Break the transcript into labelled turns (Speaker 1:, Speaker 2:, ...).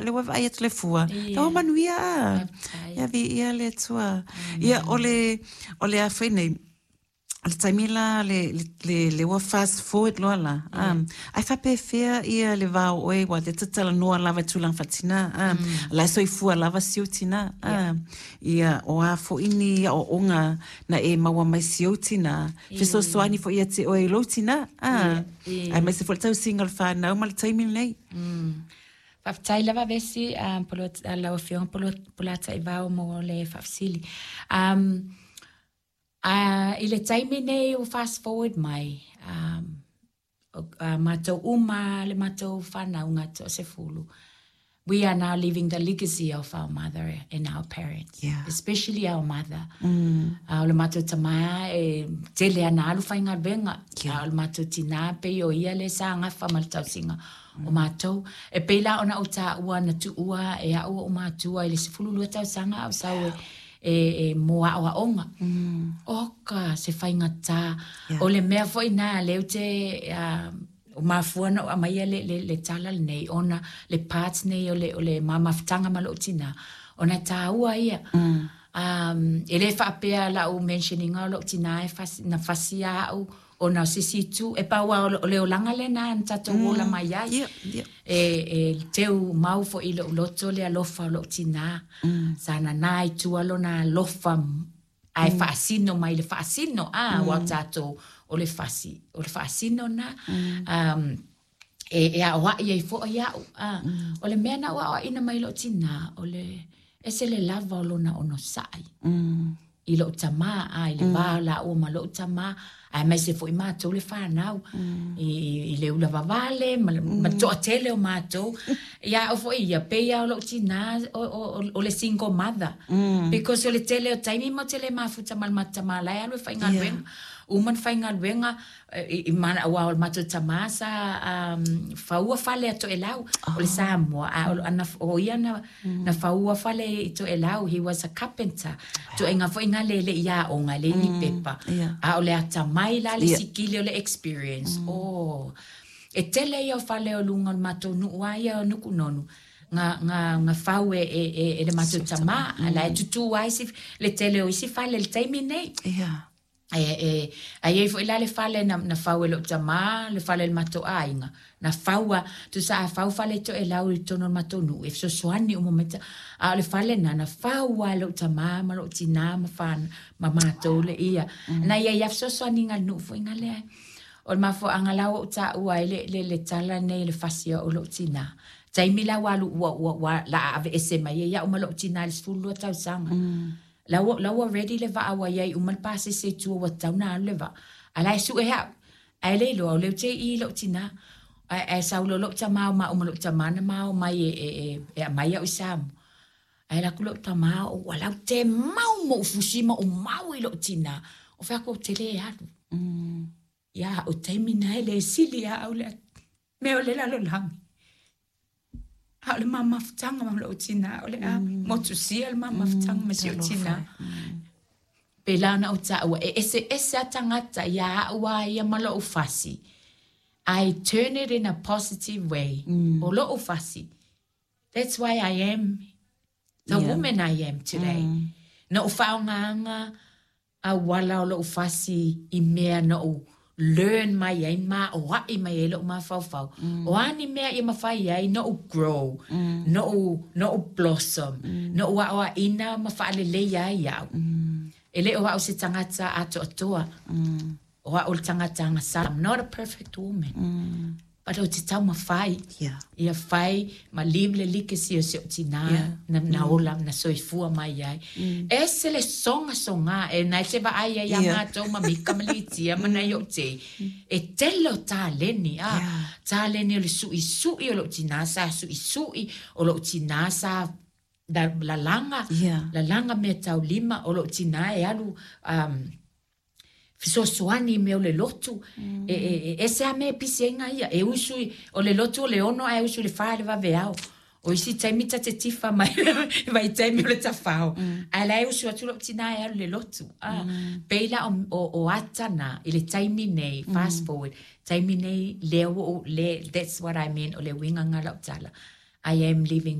Speaker 1: a lea ua vaai atu le fua, la ua manuia a. Ia viia le Atua. Ia o le o le a foi nei, o le taimi la le le le ua fast forward loa la, a, ae faapefea ia le va o oe aua lea ta te talanoa lava i tulaga faatinā, a, la e soifua lava si ou tinā, a, ia o a foi ni aoaoga na e maua mai si ou tinā, fesoasoani foi ia te oe i lou tinā, a, aemaise foi le tausiga o le fanau ma le taimi lenei.
Speaker 2: Faafetai lava Vesi, lau Afioga Polataivao mo le faafesili. I le taimi nei ua fast forward mai, matou uma le matou fanauga toasefulu, we are now living the legacy of our mother and our parents, especially our mother. O le matou tama e tele ana alu faigaluega, a o le matou tina pei o ia lea sa gafa ma le tausiga o matou. E pei la ona ou taua na tuua e a'u o'u matua i le 12 tausaga a o sau e, e, mo aoaoga. Oka se faigata. O le mea foi na lea ou te ua mafua ona ou aumaia le, le, le tala lenei ona le part nei o le, o le ma mafutaga ma lou tinā, ona e tāua ia. E le faapea lau mention ina o lou tinā e fasi, na fasia a'u ona o se isi itu, e pau lava o le olaga lena na tatou ola mai ai. E, e teu mau foi i lou loto le alofa o lou tinā. Sa nanā i tua lona alofa ae faasino mai le faasino, a, aua o tatou o le fasi, o le faasino na. E, e aoai ai foi a'u, a. O le mea na ou aoaina mai lou tinā, o le ese le lava o lona onosai i lou tamā, a, i le va o lāua ma lou tamā, aemaise foi matou le fanau i, i le ula vavale ma, ma le toatele o matou. Ia a'u foi ia, pei lava o lou tinā o, o, o, o le single mother. Because o le tele o taimi matou te le mafuta ma le matou tamā la e alu e faigaluega. Uma ona faigaluega, i, i, aua o le matou tamā sa faua fale a Toelau, o le Samoa, a o, ana, o ia na, na faua fale i Toelau, he was a carpenter. Ituaiga foi na le le i aoga, e leai ni pepa. A o le atamai la le sikili o le experience. Oh. E tele ia o fale o luga o le matou nuu lava ia o Nukunonu, na, na, na fau e, e, e, e le matou tamā, la e tutū ai isi, le tele o isi fale i le taimi nei. E, e, a i ai foi la le fale na, na fau e lou tamā, le fale o le matou aiga, na fau a, tusa a fau fale i Toelau i totonu o le matou nuu, e fesoasoani uma mai ta, a o le fale na, na fau lava e lou tamā ma lou tinā ma whana, ma matou le ia. Na i ai lava fesoasoaniga a le nuu foi na lea. O le mafuaaga la ua ou taua ai le, le, le tala nei le fasia o lou tinā. Taimi la ua alu, ua, ua, ua laa aveese mai ai au ma lou tinā i le 12 tausaga. La ua, la ua ready le vaa ua iai uma le pasese i tua ua tatau ona alu le vaa. A la e sue au. Ae le iloa o lea ou te i i lou tinā. Ae, ae sau loa lou tamā o maua ma lou tamā na ma omai e, e, e, e aumai au i Samoa. Ae alu atu lou tamā ua laute mau ma ou fusi ma ou mau i lou tinā. Ou fai atu ou te le alu. Ia o taimi na e le sili ia au le mea o le lalolagi. A o le ma mafutaga ma lou tinā, o le a motusia le ma mafutaga ma si ou tinā. Pēlā ona ou taua, e eseese a tagata iā a'u a ia ma lo'u fasi. I turn it in a positive way. O lo'u fasi. That's why I am the woman I am today. Na ou faaaogaina auala o lo'u fasi i mea na ou learn mai ai ma aoa'i mai ai lo'u mafaufau. O a ni mea ia mafai ai no'u grow, no'u, no'u blossom, no'u aoaʻina ma faaleleia ai a'u. E le o a'u se tagata atoatoa, o a'u o le tagata agasala. I'm not a perfect woman. But ou te taumafai ia fai ma leave le legacy o si o'u tinā na, na ola na soifua mai ai. Ese le sogasoga e na e te vaai ai iā matou ma Mika ma Litia ma nai o'u tei, e tele o taleni, a, taleni o le suʻisuʻi o lo'u tinā sa suʻisuʻi, o lo'u tinā sa lalaga, lalaga meataulima, o lo'u tinā e alu fesoasoani i mea o le lotu. E, e, e ese a mea e pisi ai ngā ia. E usu, i, o le lotu o le 6 ae usu i le 4 i le vaveao. O isi taimi ta te tifa mai vai taimi o le tafao. Ae la e usu atu lou tinā e alu i le lotu. Ah, pei la o, o, o ata na i le taimi nei, fast forward, taimi nei, lea ua ou, le, that's what I mean, o le uiga nga lau tala. I am living the.